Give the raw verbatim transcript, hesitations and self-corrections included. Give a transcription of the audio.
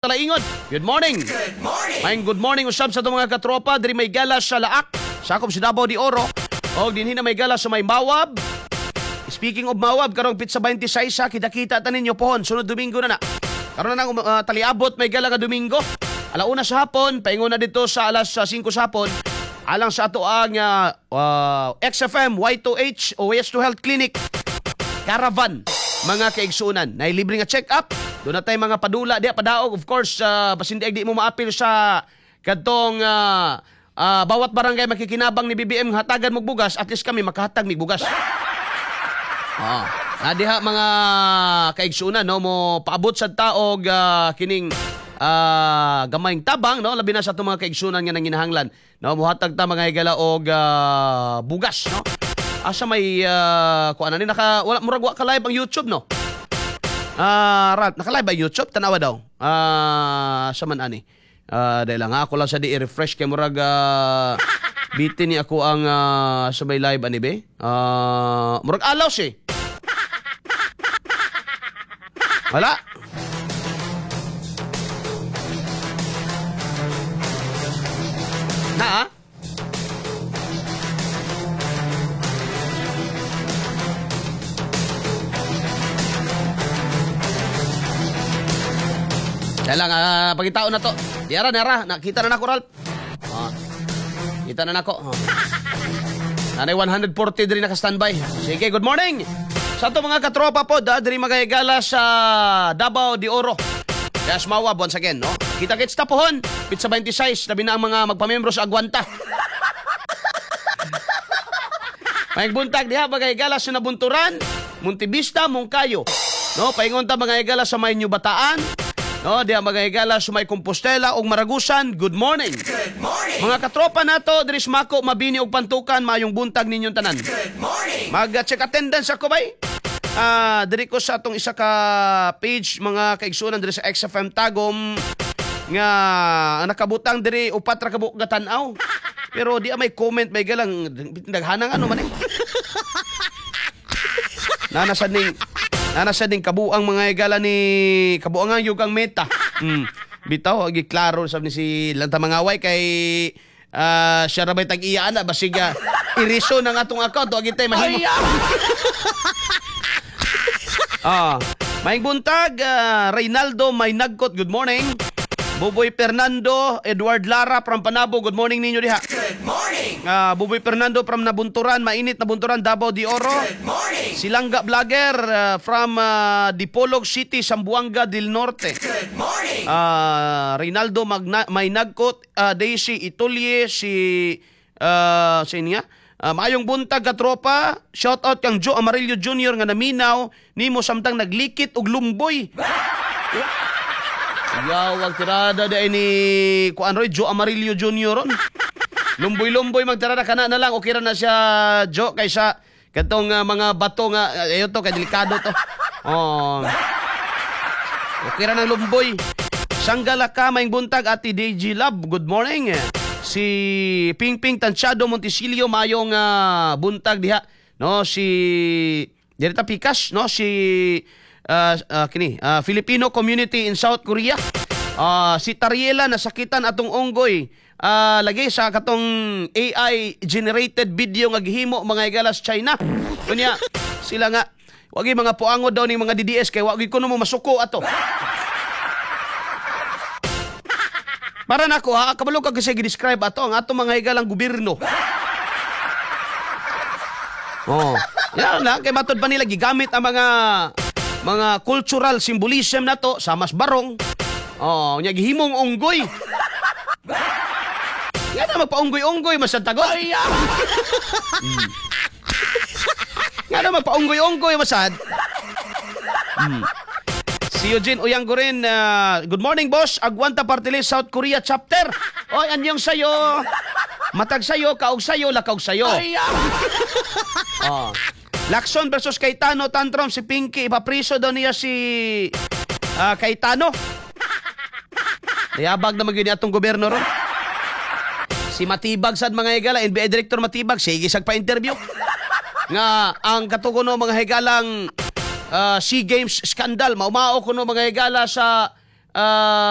Talaingod. Good morning. Good morning. Maayong good morning usab sa atong mga katropa diri may gala sa Laak, sakop sa Davao de Oro. Og dinhi na may gala sa may Mawab. Speaking of Mawab, karong petsa twenty-six sa kita-kita ta ninyo pohon sunod Domingo na na. Karon na nang uh, taliabot may gala nga Domingo. Alauna sa hapon, paingon na dito sa alas singko sa hapon. Alang sa ato ang uh, uh, X F M Y two H o Y S two Health Clinic Caravan, mga kaigsunan. Nay libre nga check-up. Doon na tayo mga padula diya padaog, of course, uh, basin di di mo maapil sa kadtong uh, uh, bawat barangay makikinabang ni B B M hatagan mo bugas, at least kami makahatag mig bugas. Ah, na diha, mga kaigsunan, no, mo paabot sa taog uh, kining uh, gamayng tabang, no, labi na sa atong mga kaigsunan nga nanginahanglan, no, mohatag ta, mga higala, og uh, bugas, no. Asa may uh, kuan ni naka wala, murag wa ka live ang YouTube, no? Ah, Ralph, naka-live ba YouTube? Tanawa daw. Ah, sa man ani. Ah, dahil lang ako lang sa di i-refresh kay murag uh, bitin ni ako ang uh, sa may live ani be. Ah, murag alaws eh. Wala. Na ah? Kaya lang, uh, pagitao na to. Yara, nara, nakita na nako, Ralph. Ah, kita na nako. Oh. Nanay one hundred forty diri naka-standby. Sige, good morning. Sa ato mga katropa po, da, diri magahigala sa Davao de Oro. Yes, Mawab once again, no? Kita-kits ta pohon. Petsa twenty-six, labi na ang mga magpamembro sa Agwanta. Maayong buntag diha magahigala sa Nabunturan, Montevista, Moncayo. No, paingon ta mga higala sa may New Bataan. No, diha mga higala sa may Compostela ug Maragusan. Good morning. Good morning. Mga katropa nato diri sa Mako, Mabini ug Pantukan, maayong buntag ninyong tanan. Good morning. Mag-check attendance ako bay. Ah, diri ko sa atong isa ka page, mga kaigsuonan, diri sa X F M Tagum nga ang nakabutang diri upat ra ka buok tan-aw. Pero di may comment, may galang daghanang ano man eh. Nana sad ning nana sad ning kabuang, mga higala, ni kabuangan yung kang Meta. Mm. Bitaw agi klaro sab ni si lanta mangaway kay ah, siya ra bay tag-iya ana, basig uh, iriso ng atong account agi tay mahimo. Ah, maayong buntag, ah, Reynaldo May Nagkot, good morning. Buboy Fernando, Edward Lara from Panabo, good morning ninyo diha. Good morning. Ah, Buboy Fernando from Nabunturan, mainit na Bunturan, Davao de Oro. Good morning. Silangga Vlogger ah, from ah, Dipolog City, Zamboanga del Norte. Good morning. Ah, Reynaldo Magna, May Nagkot, ah, Daisy Itulie, si uh, sino nga? Ah, maayong buntag katropa. Shout out kang Joe Amarillo Junior nga naminaw nimo samtang naglikit og lumboy. Yaw, ang tirada dai ni kuan roy Joe Amarillo Junior ron. Lumboy-lumboy magtirada kana na lang, okay ra na siya, Joe, kaysa katong ah, mga bato nga ayo to kay delikado to. Oh. Okay ra ng lumboy. Sanggala ka, maayong buntag, Ate D J Love. Good morning. Si Ping Ping Tansyado Montesilio, mayong ah, buntag diha. No, si Dirita Pikas, no, si ah, ah, kini, ah, Filipino Community in South Korea. Ah, si Tariela nasakitan atong unggoy. Ah, lagi sa katong A I generated video nga gihimo, mga higala, sa China. Kunya sila nga wagi mga puangod daw ning mga D D S kay wagi kuno mo masuko ato. Para nako ha, kabalo ka kasi gi-describe ato ang ato, mga higalang gobyerno. Oh. Yan lang kay matod pa nila gigamit ang mga mga cultural symbolism nato sa mas barong. Oh, nya gihimong unggoy. Yan na magpaunggoy-unggoy masad tago. Mm. Nga na magpaunggoy-unggoy masad. Mm. Si Eugene Uyanggurin, uh, good morning, boss, Agwanta Party List South Korea chapter. Oy, anyong sayo. Matag sayo, kaog sayo, lakaog sayo. Oh. Lacson versus Cayetano tantrum, si Pinky ipapriso daw niya si ah, Cayetano. Nayabag na magyud atong gobyerno ron. Si Matibag sad, mga higala, N B I Director Matibag, sige sag pa-interview. Nga ang katukono, mga higalang, uh, SEA Games scandal, maumao kuno, mga higala, sa ah,